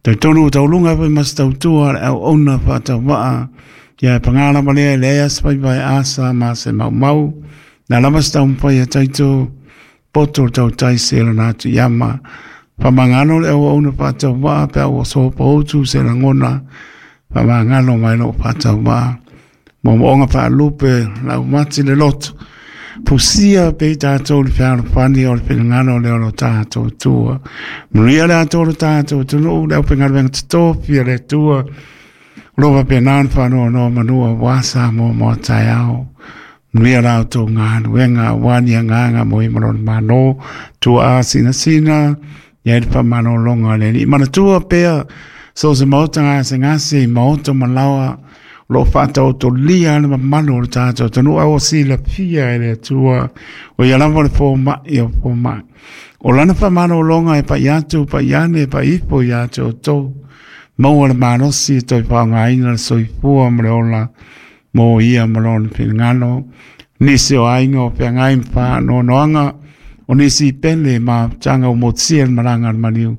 Talitonu ua tauluga ai foi ma se tautua a le auauna faatauvaa, ia e paga lava lea e leai lava se faiva e asa ma se maumau. Na lava se taumafai a taito poto le tautai se lona atu iama. Faamagalo le auauna faatauvaa pe a ua sopoutu se lagona, faamagalo mai lou faatauvaa. Moomooga faalupe laumati le loto, fusia pea i tatou le fealofani o le finagalo lea o lo tatou Atua. Manuia le atoa o lo tatou atunuu, le aufaigaluega totofi a le Atua, o lo o faapena ona faanonomanu aua Samoa mo a taeao. Manuia la outou galuega aua ni agaga mo ia ma lona Malo, tuaa sinasina, i ai le faamalologa a le Alii. Manatua pea so o se maota gasegase i maota ma laoa, o lo o faataotolia le mamalu o le tatou atunuu, a ua silafia e le Atua, o ia lava le fomai o fomai. O lana faamalologa e pai atu, pai ane, pai ifo ia te outou. Maua le malosi e toe faaaogaina le soifua ma le ola mo ia ma lona finagalo. Nisi o aiga o feagai ma faanoanoaga, o nisi pele ma mafutaga ua motusia le malaga a le maliu,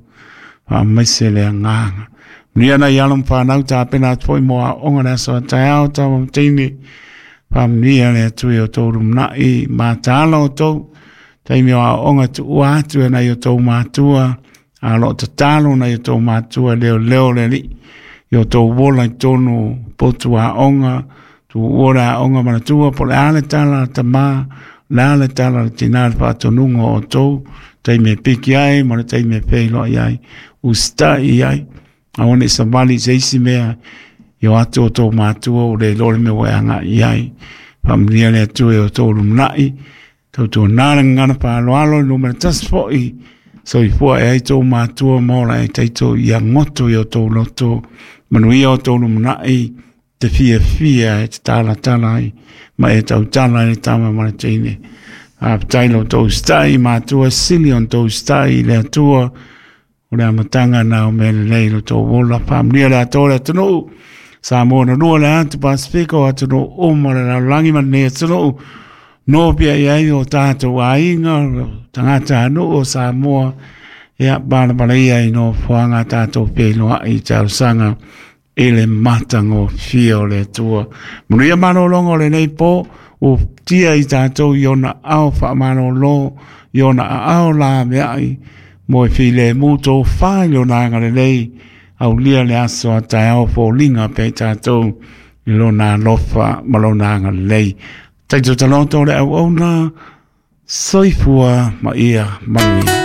faamaise le agaga. Manuia nai alo ma fanau tapena atu foi mo aoga le aso a taeao tama ma teine. Faamanuia le Atua i o outou lumanai, mataala outou, taimi o aoga tuua atu e nai o outou matua, a o lo o tatalo nai o outou matua leoleo le Alii i o outou ola i totonu potu aoga, tuua le aoga manatua po o le a le tala a le tama, o le a le tala a le tina i le faatonuga o outou, taimi e piki ai ma le taimi e feiloai ai, usitai i ai, aua ne i savali i se isi mea i o atu outou matua ua le iloa le mea ua e agai i ai. Faamanuia le Atua i o outou lumanai, tautuana le gagana faaaloalo i numera tasi foi, soifua e ai tou matua ma ola ai taito ia goto i o outou loto, manuia o outou lumanai, te fiafia e te talatala ai ma e tautala ai le tama ma le teine. Faafetai lo outou usitai, matua sili ona outou usitai i le Atua, o le amataga na o mea lelei lo outou ola. Faamanuia le Atua o le atunuu, Samoa na lua le atu Pasifika o atunuu uma o le lalolagi ma lenei atunuu, nofia i ai o tatou aiga, tagata nuu o Samoa, ia palapala ia i nofoaga a tatou feiloai i talosaga i le matagofie o le Atua. Manuia malologa o lenei po, ua tia i tatou i ona ao faamalolo, i ona aao laveai, mo e filemu tofa i lona agalelei, aulia le aso a taeao foliga pea i tatou i lona alofa ma lona agalelei. Taito taloto le auauna, soifua ma ia manuia.